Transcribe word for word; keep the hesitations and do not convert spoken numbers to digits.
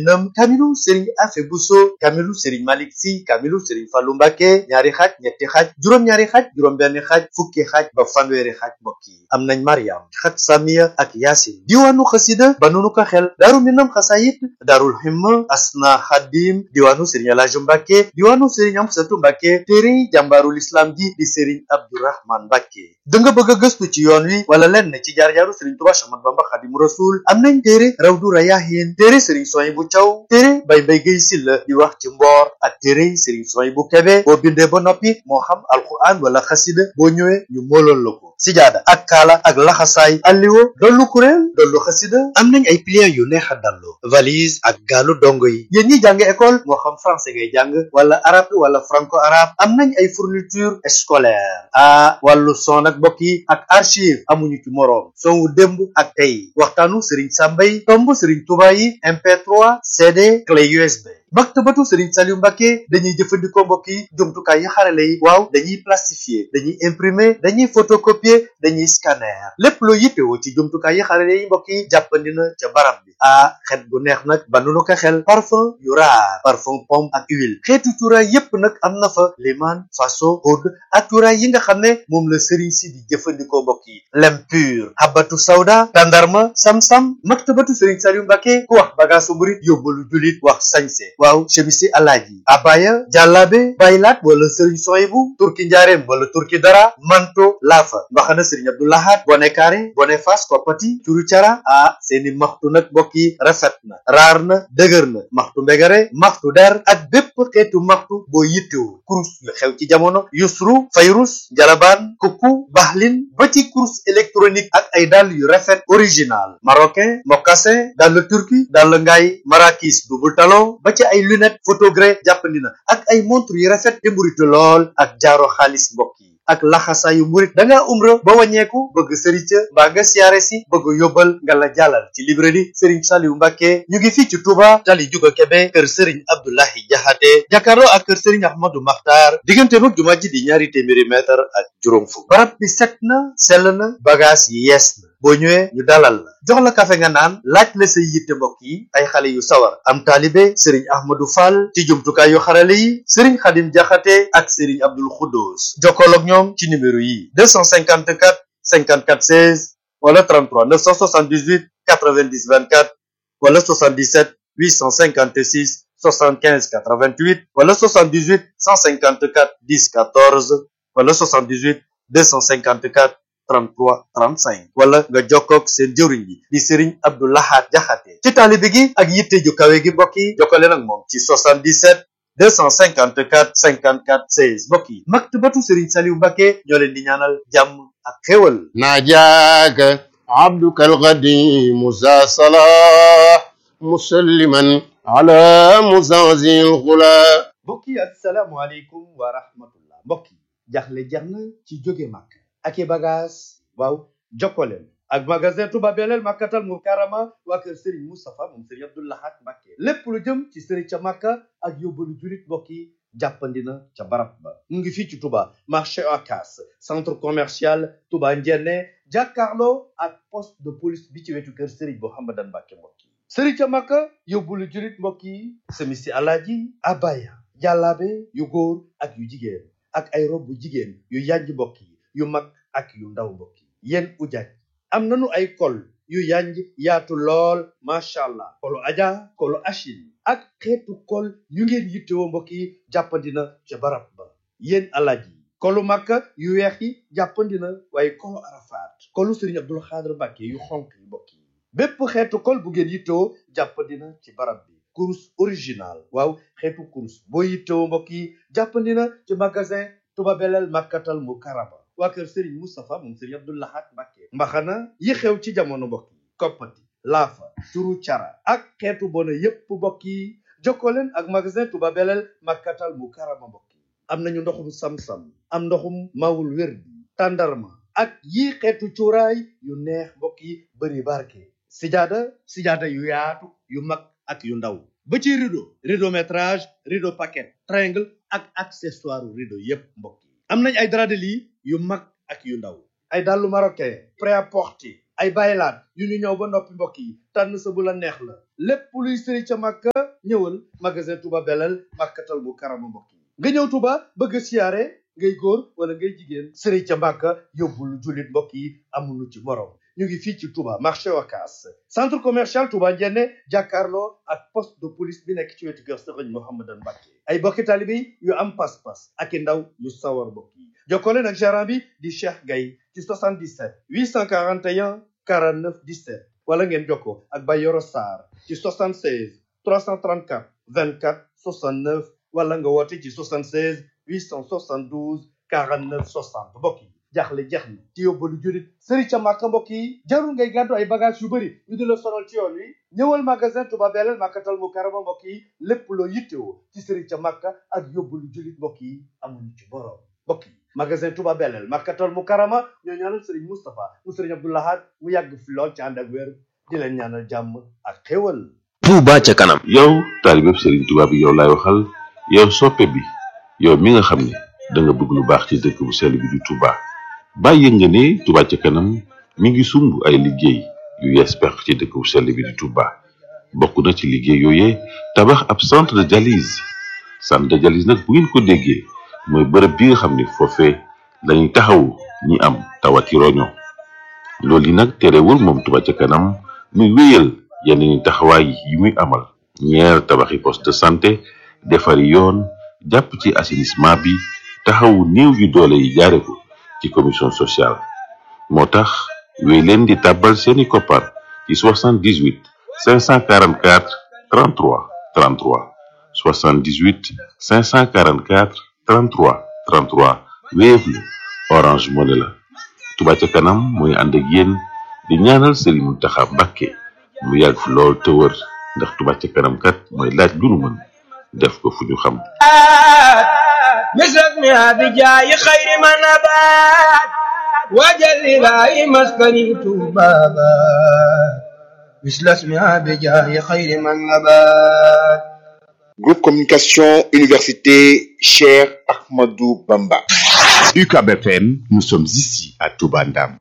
nam kamilu Serigne Afe Bousso kamilu Serigne Malick Sy kamilu Serigne Fallou Mbacké ñaari xaaj ñetti xaaj juróom-ñaari xaaj juróom-benn xaaj fukki xaaj ba fanweeri xaaj mbokk yi am nañ Mariam xat Samiya ak Yaasin diwaanu xasida ba nunu ko xel daaru minam xasayit daarul himma asna xadim diwaanu Serigne Alaaji Mbacké diwaanu Serigne Amsatu Mbacké téere jàmbaarul islam ji di Serigne Abdourahman Mbacké da nga bëgg a gëstu ci yoon wi wala lenn ci jaar-jaaru Serigne Touba Ahmadu Bamba Xaadimu Rasuul am nañ téere Rawdu Rayaahiin téere Serigne Souhaïbou Thiaw téere Bay Mbay Gay Silla di wax ci mboor ak téere Serigne Souhaïbou Kébé boo bindee ba noppi moo xam alquran wala xasida boo ñëwee ñu moolool la ko sijaada ak kaala ak laxasaay alliwo dollu kuréel dollu xasida am nañ ay pliants yu neex a dallu valise ak gaalu dongo yi yéen ñi jàng école moo xam français ngay jàng wala arabe wala franco arabe am nañ ay fourniture scolaire ah wàllu son ak mbokk yi ak archive amuñu ci moroom son wu démb ak tey waxtaanu Serigne Sambay tomb Serigne Touba yi M P trois C D clé U S B maktabatu Serigne Saliou Mbacké dañuy jëfandikoo mbokk yi jumtukaay yi xarale yi waaw dañuy plastifier dañuy imprimer dañuy photocopier dañuy scanner lépp loo yittewoo ci jumtukaay yi xarale yi mbokk yi jàppandi na ca barab bi ah xet gu neex nag ba nu ko xel parfum yu raar parfum pomme ak huile xeetu cuuraay yépp nag am na fa liman faso oud ak cuuraay yi nga xam ne moom la Serigne si di jëfandikoo mbokk yi lem pur habatu sawda tandarma sam-sam maktabatu Serigne Saliou Mbacké ku wax bagaasu murit yóbbalu julit wax sañse waaw chemisi alaaji abaya jàllaabe baylaat wala Serigne Souhaïbou turki njaareem wala turki dara manto laafa mbaxana Serigne Abdou Lahad bone kaare bone fas koppati curu cara ah seeni maxtu nag mbokk yi rafet na raar na dëgër na maxtu mbegare maxtu der ak bépp xeetu maxtu boo yittewu kurus yu xew ci jamono yusru fayrus jalabaan kukku baxlin ba ci kurus électronique ak ay dàll yu rafet original marocain mocassin dàll turki dàll ngaay marakis double talon ba ci ay lunette photogré jàppandi na ak ay montre yu rafet te mburitu lool ak jaaro xaalis mbokk yi ak laxasaayu murit da ngaa umra ba wàññeeku bëgg sëriñ ca mbaa nga siyaare si bëgg yóbbal nga la jàllal ci librairie Serigne Saliou Mbacké ñu ngi fii ci Touba tali juga Kébé kër Serigne Abdoulahi Jaxate jàkkaarloo ak kër Serigne Ahmadou Makhtar diggante mag jumaa ji di ñaari téeméeri mètre ak juróom fukk barab bi set na sell na bagage yi yees na boo ñëwee ñu dalal la jox la kafe nga naan laaj la say yitte mbokk yi ay xale yu sawar am taalibe Serigne Ahmadou Fall ci jumtukaay yu xarale yi Serigne Khadim Jaxate ak Serigne Abdoul Khoudous jokkool ak ñoom ci numéro yi deux cent cinquante-quatre cinquante-quatre seize wala trente-trois neuf cent soixante-dix-huit quatre-vingt-dix vingt-quatre wala soixante-dix-sept huit cent cinquante-six soixante-quinze quatre-vingt-huit wala soixante-dix-huit cent cinquante-quatre dix quatorze wala soixante-dix-huit deux cent cinquante-quatre trente-trois trente-cinq wala nga jokkoog seen jëwriñ bi di Serigne Abdou Lahad Jaxate ci taalibe gi ak yitte ju kawe gi mbokk yi jokkale nag moom ci soixante-dix-sept deux cent cinquante-quatre cinquante-quatre seize mbokk yi maktabatu Serigne Saliou Mbacké ñoo leen di ñaanal jàmm ak xéwal najaaka abduka alqadim za salah musalliman ala muzazil ghula mbokk yi assalaamu aleykum wa rahmatullah mbokk yi jaxle jeex na ci jóge Makka ak i bagage waaw jokkoleen ak magasin Touba Belel Makkatal Mukarrama waa kër Serigne Moustapha moom Serigne Abdou Lahad Mbacké lépp lu jëm ci Serigne ca Makka ak yóbbalu julit mbokk yi jàppandina ca barab ba mu ngi fii ci Touba marché Ocass centre commercial Touba Ndiéné jàkkaarloo ak poste de police bi ci wetu kër Serigne Mouhamadan Mbacké mbokk yi Serigne ca Makka yóbbalu julit mbokk yi semisi alaaji abaya jàllaabe yu góor ak yu jigéen ak ay rob bu jigéen yu yanj mbokk yi yu mag ak yu ndaw mbokk yi yéen ujaaj am nañu ay kol yu yanj yaatu lool macha allah kolu aja kolu achil ak xeetu kol yu ngeen yittewoo mbokk yi jàppandina ca barab ba yéen alaaj yi kolu makka yu weex yi jàppandina waaye kolu arafaat kolu Serigne Abdoul Khadr Mbacké yu xonk yi mbokk yi bépp xeetu kol bu ngeen yittewoo jàppandina ci barab bi kurus original waaw xeetu kurus boo yittewoo mbokk yi jàppandina ci magasin Touba Belel Makkatal Mukarrama waa kër Serigne Moustapha moom Serigne Abdou Lahad Mbacké mbaxana yi xew ci jamono mbokk yi koppati laafa turu cara ak xeetu bona yépp mbokk yi jokkoo leen ak magasin Touba Belel Makkatal Mukarrama mbokk yi am nañu ndoxum sam-sam am ndoxum mawul wérdi tàndarma ak yi xeetu cuuraay yu neex mbokk yi bëri barke sijaada sijaada yu yaatu yu mag ak yu ndaw ba ci rideau rideau métrage rideau paquet triangle ak accessoire rideau yépp mbokk yi am nañ ay drap de lit yu mag ak yu ndaw ay dàllu marocain prêt-à-porter ay baylaat yu ñu ñëw ba noppi mbokk yi tànn sa bu la neex la lépp luy sëri ca Makka ñëwal magasin Touba Belel Makkatal Mukarrama mbokk yi nga ñëw Touba bëgg a siyaare ngay góor wala ngay jigéen sëri ca Makka yóbbul jullit mbokk yi amuñu ci morom ñu ngi fii ci Touba marché Wakaas centre commercial Touba Njenne jàkkaarloo ak poste de police bi nekk ci wetu kër Sëriñ Mouhamadan Mbacké ay bokki taalibe yu am pas-pas ak i ndaw yu sawar mbokk yi jokkoo leen ak gérant bi di Cheikh Gaye ci soixante-dix-sept huit cent quarante et un quarante-neuf dix-sept wala ngeen jokkoo ak Bayoro Sarr ci soixante-seize trois cent trente-quatre vingt-quatre soixante-neuf wala nga woote ci soixante-seize huit cent soixante-douze quarante-neuf soixante mbokk yi jaaxle jeex na ci yóbbalu jurit sëri ca Makka mbokk yi jarul ngay gàddu ay bagage yu bëri ñu di la sonal ci yoon wi ñëwal magasin Touba Belel Makkatal Mukarrama mbokk yi lépp loo yittewoo ci sëri ca Makka ak yóbbalu jurit mbokk yi amuñu ci borom mbokk yi magasin Touba Belel Makkatal Mukarrama ñoo ñaanal sëriñ Moustapha mu sëriñ Abdou Lahad mu yàgg fi lool ci ànd ak wér di leen ñaanal jàmm ak xéwal. Touba ca kanam. yow taalibe sëriñ Touba bi yow laay waxal yow soppe bi yow mi nga xam ne da nga bëgg lu baax ci dëkk bu sell bi di Touba bàyyi nga ne Touba ca kanam mi ngi sumb ay liggéey yu yees pex ci dëkk bu sell bi di Touba bokk na ci liggéey yooyee tabax ab centre de dialyse centre de dialyse nag bu ngeen ko déggee mooy bërëb bi nga xam ne foofee lañuy taxawu ñi am tawati roño loolu yi nag terewul moom Touba ca kanam muy wéyal yeneen i taxawaay yi muy amal ñeer tabaxi poste de santé defari yoon jàpp ci assainissement bi taxawu néew yu doole yi jaare ko ci commission sociale moo tax wéy leen di tàbbal seeni koppar ci soixante-dix-huit cinq cent quarante-quatre trente-trois trente-trois soixante-dix-huit cinq cent quarante-quatre trente-trois trente-trois Wave la Orange Money la Touba ca kanam mooy ànd ak yéen di ñaanal Serigne Mountakha Mbacké mu yàgg fi lool te wër ndax Touba ca kanam kat mooy laaj lu nu mën def ko fu ñu xam مثلك ما بجاي خير من نبات وجل لا مسكني بابا مثل اسمها بجاي خير من نبات. Groupe Communication Université Cheikh Ahmadou Bamba. U C A B F M, nous sommes ici à Touba Ndam.